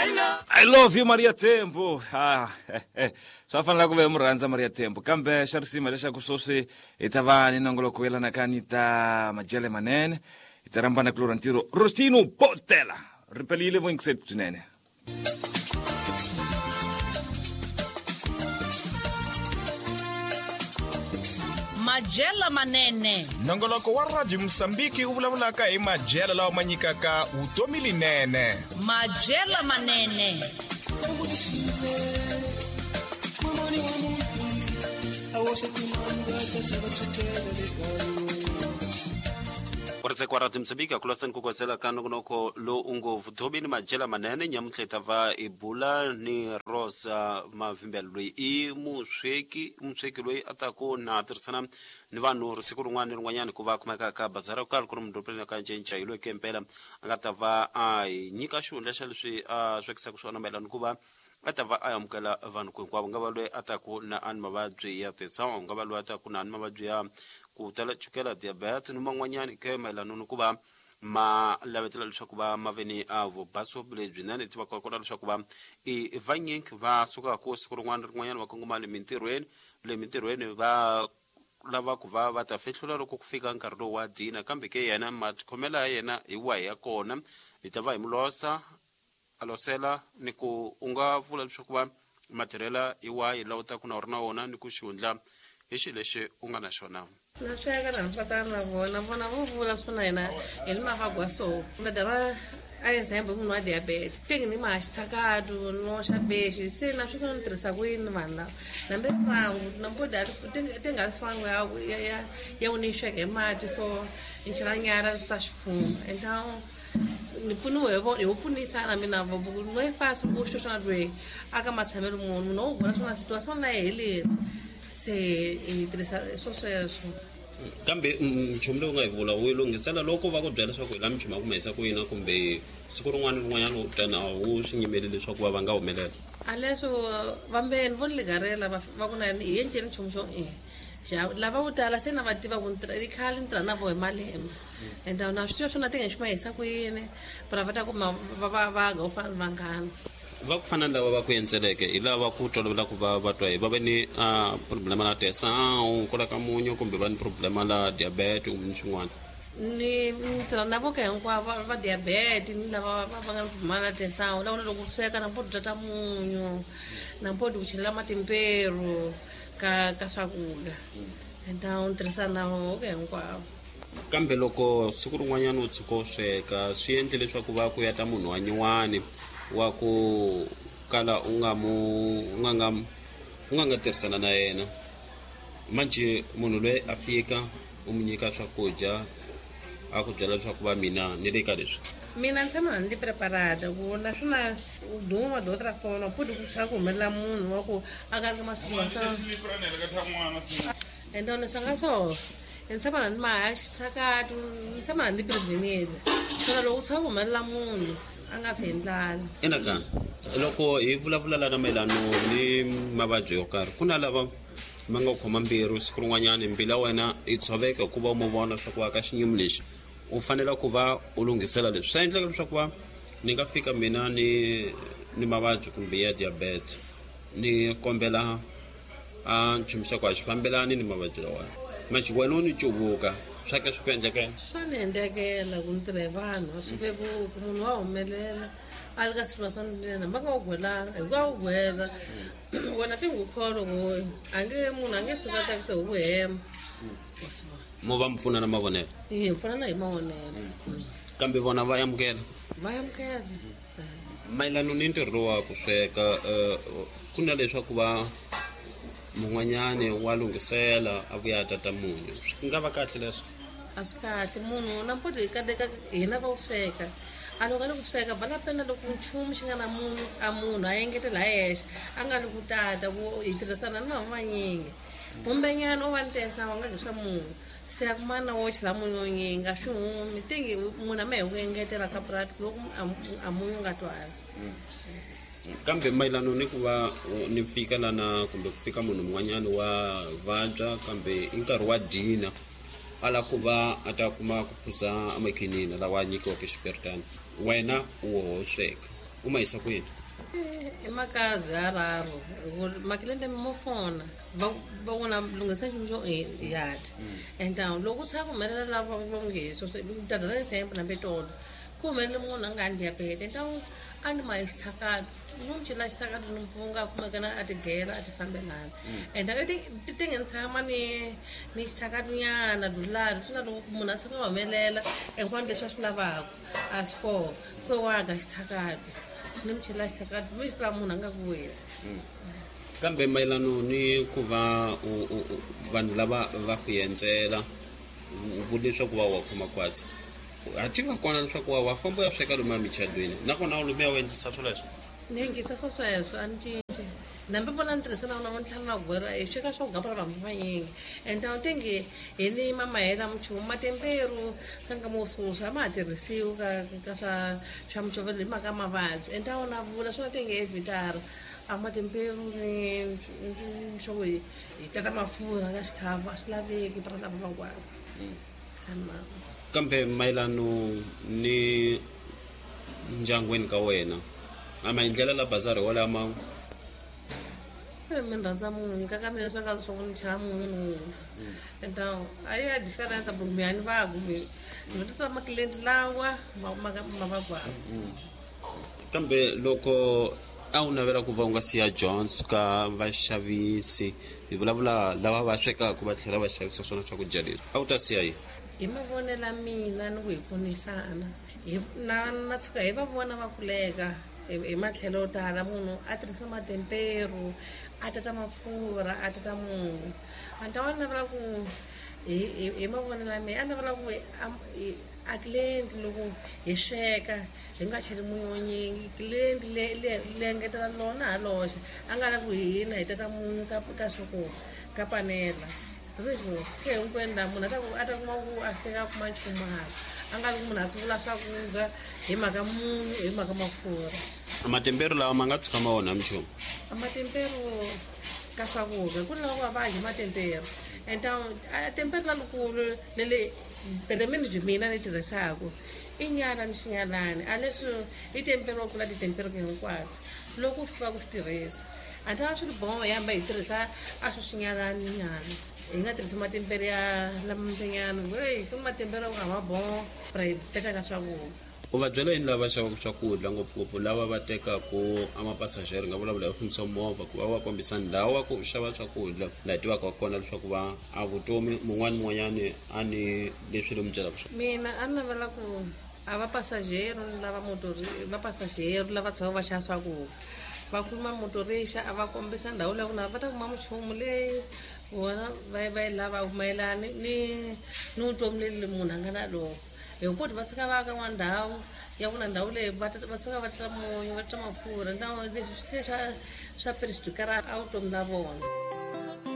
I love you Maria Tempo. Ah, swa fanela ku ve mu rhandza Maria Tempo kambe xa risima leswaku sweswi hi ta va ni nongoloko yelanaka ni ta majele manene hi ta rhambana kulorha ntirho Rostino Botela ri pelile vuyingiseti byinene. Majela manene. Nongoloko wa Radio Mosambiki wu vulavulaka hi majela lawa ma nyikaka vutomi linene. Majela manene. Ku Radio Mozambique akulasani kukwazela ka nongonoko lowu u ngo vutomi ni majela manene nyamuntlha hi ta va hi bula ni Rosa Mavimbela loyi i musweki musweki loyi a taku na tirhisana ni vanhu siku rin'wana ni rin'wanyana ku va kumeka ka bazara yo karhi ku ri mudorobeni ka Ncinca hi loyi ke mpela a nga ta va a hi nyika xihundla xa leswi a swekisaka swona mayelana ku va a ta va a amukela vanhu ku hinkwavo nga va loyi a taku na a ni mavabyi ya tension nga va loyi a taku na ni mavabyi ya ku tala chukela diabetes ni man'wanyani ke mayelana ni ku va ma lavetela leswaku va ma ve ni a vubaso lebyinene ti va kota leswaku va i vanyingi va sukaka siku rin'wana rin'wanyana va kongoma le mintirhweni le mintirhweni va lava ku va va ta fihlula loko ku fika nkarhi lowu wa dina kambe ke yena matikhomelo ya yena hi wahi ya kona hi ta va hi mu losa a losela ni ku u nga vula leswaku va matirhela hi wahi lawa u taku na u ri na wona ni ku xihundla hi xilo lexi u nga na xona. Na sweka na mpatana na vona vona vo vula swona hina hi ni mavagwa so na dara a example munhu wa diabetes tingi ni ma xitshakatu no xa bexi se na swi ni tirhisa ku yini vanhu lava nambe frangu nambo da tinga frangu ya ya ya u ni sweka hi mati so ni chela nyara swa xikhumba então ni pfuniwe hi vo pfunisana mina no yi fasi ku sweswi loyi aka matshamelo munhu munhu wo vona swona situation na yi heleri se hi tirhisa swo sweswo. Kambe nchumu lowu nga hi vula wu lunghisela loko va ku byela leswaku hi la minchumu ya ku ma ku yina kumbe siku rin'wana ni rin'wanyana u tana wu swi nyimeli leswaku va va nga humelela. A leswo vambeni vo ni ligarela va ku na hi endleni nchumu xo lava vo tala se na va tiva ku i khale ni tirha na vo hi malembe and na swi tiva swona ti nga xi ma hisa ku yini va va ta ku va va va ga u fana ni vanghana. Va ku fana ni lava va ku endzeleke hi lava ku tolovela ku va va twa hi va ve ni problema la tension kwala ka munyu kumbe va ni problema la diabetes kumbe ni swin'wana. Ni tirha na vo ka hinkwavo va diabetes ni lava va nga ni problema la tension lava loko sweka na mpo ta munyu na mpo ku chelela matimperu ka ka swakudya and ni tirhisa na vo ka hinkwavo. Kambe loko siku rin'wanyana u tshuka u sweka swi endle leswaku va ku ya ta munhu wa nyuwani wa ku kala u nga mu u nga nga u nga nga tirhisana na yena manje munhu loyi a fika u mu nyika swakudya a ku byela leswaku va mina ni le ka leswi. Mina ni tshama ni preparada ku naswona u duma madokotela fona futhi ku swa ku humelela munhu wa ku a ka ri masiku and leswi nga so ni tshama na ni maha xitshakatu ni tshama na ni prevened swona loko u tshama ku humelela munhu a nga fi hi ndlala. Ina loko hi vulavula lana mayelano ni mavabyi yo karhi ku na lava ma nga khoma mbilu siku rin'wanyana mbilu ya wena yi tshoveka hikuva u mu vona swa ku ka xinyimi lexi u fanele ku va u lunghisela leswi swa endleka leswaku va ni nga fika mina ni ni mavabyi kumbe ya diabetes ni kombela a nchumu xa ku a xi fambelani ni mavabyi lawa manje wena u ni cuvuka swa ke swi ku endlekela. Swa ni endlekela ku ni tirha hi vanhu a swi vevuki munhu wa humelela a li ka situation lena va nga wu gwelanga hi ku a wu gwela wena ti n'wi kholo ku a nge munhu a nge tshuka a tsakisa hi ku hema. Mo va mi pfuna na mavonelo? Hi pfunana hi mavonelo. Kambe vona va amukela? Va amukela. Mayelana ni ntirho lowu wa ku sweka ku na leswaku va mun'wanyani wa lunghisela a vuya a tata munyu swi nga va kahle leswo? A swi kahle munhu na mpoto hi kateka hina va ku sweka a loko a le ku sweka bala pena loko nchumu xi nga na munyu a munhu a engetela hi yexe a nga li ku tata ku hi tirhisana ni vanhu vanyingi kumbenyana u va ni tensa wa nga nge swa munhu se a kuma na wo chela munyu wo nyingi a swi humi tingi munhu a ma hi ku engetela ka purati loko a munyu nga twali. Kambe mayelana ni ku va ni fika lana kumbe ku fika munhu un'wanyana wa vabya kambe i nkarhi wa dina a lava ku va a ta kuma ku phuza amakhinini lawa a nyikiwaka xipiritana wena u wo sweka. U ma yisa kwini? I makazi ya raro makilende mo fona va va vona lunghisa nchumu xo yati and loko u tshama ku humelela lava va nge tata ra example hambi tolo ku humelele munhu a nga ni diabete ntawu a ni ma xitshakato ni n'wi cela xitshakato ni mpunga a kumekana a tigela a ti fambelana and ti ti nge ni tshama ni ni xitshakato nyana dulari swi na loko munhu a tshama a humelela hinkwano leswi a swi lavaka a swi koho ku waga xitshakato ni mi chela xitshakato mi swi munhu a nga ku weli. Kambe mayelano ni ku va vanhu lava va ku endzela u vule leswaku va wa khoma kwatsi ha tiva kona leswaku wa famba u ya sweka lomu emichadweni nakona u lomuya u endlisa swoleswo? Ni yingisa swo sweswo a ni cinci nambi vona ni tirhisa na vona vo ntlhanu va gwera hi sweka swo gapela vanhu vanyingi and a wu tingi hi ni mamahela minchumu matemperu ka nkama wo swoswi a ma ha tirhisiwi ka swa swa mucovelo hi mhaka mavabyi and a wu na vula swona tingi evhitara a matemperu ni swa ku hi tata mafurha ka xikhavu a swi laveki para lava van'wana. Kambe mayelano ni ndyangwini ka wena a maendlelo la bazari walama? Mi rhandza munyu ka ka mina swa ka swa ku ni chava munyu ni wula and a ya difference kumbe a ni va kumbe ni tata makilenti lawa ma va gwava. Kambe loko a wu navela ku va u nga siya Jones ka vaxavisi, hi vulavula lava va swekaka va tlhela va xavisa swona swakudya leswi, a wu ta siya yini? Hi mavonelo ya mina ni ku hi pfunisana hi na tshuka hi va vona va kuleka hi matlhelo yo tala munhu a tirhisa matemperu a tata mafurha a tata munyu a ni ta va navela ku hi mavonelo ya mina a navela ku a client loko hi sweka hi nga cheli munyu wo nyingi client le engetela lona ha loxe a nga lavi ku hina hi tata munyu ka swa ku ka panela leswo ke hinkwenu laha munhu a ta kuma ku a fika a kuma nchumu hala a nga ri ku munhu a tsuvula swakudya hi mhaka munyu hi mhaka mafurha. Matemperu lawa ma nga tshuka ma onha minchumu? Matemperu ka swakudya ku ri lava ku va va dya matemperu and a temperu lalukulu lele peremeni byi mina ni tirhisaku i nyala ni xinyalani a leswi i temperu wa kula titemperu hinkwato loko u swi tiva ku swi tirhisa a ta swi ri boho hi hamba hi tirhisa a swo xinyalani nyana hi nga tirhisi matemperu ya lamanyana hey ku ni matemperu a ma boho ra hi teka ka swakudya. U va byela yini lava xavaka swakudya ngopfungopfu lava va tekaku a mapassager nga vulavula hi fambisa movha ku va va kombisa ndhawu wa ku xava swakudya laha tivaka kona leswaku va a vutomi mun'wani mun'wanyani a ni leswi lomu byelaka swona? Mina a ni navela ku a va passager lava motori va passager lava tshama va xava swakudya va khuluma motorixa a va kombisa ndhawu leyi ku na va ta kuma minchumu leyi vona va yi lava mayelana ni vutomi leli munhu a nga na lona hi ku va suka va ka n'wana ndhawu ya ku na ndhawu leyi va suka va tisa munyu va tisa mafurha ndhawu leswi se swa swa perjudikara a vutomi la vona.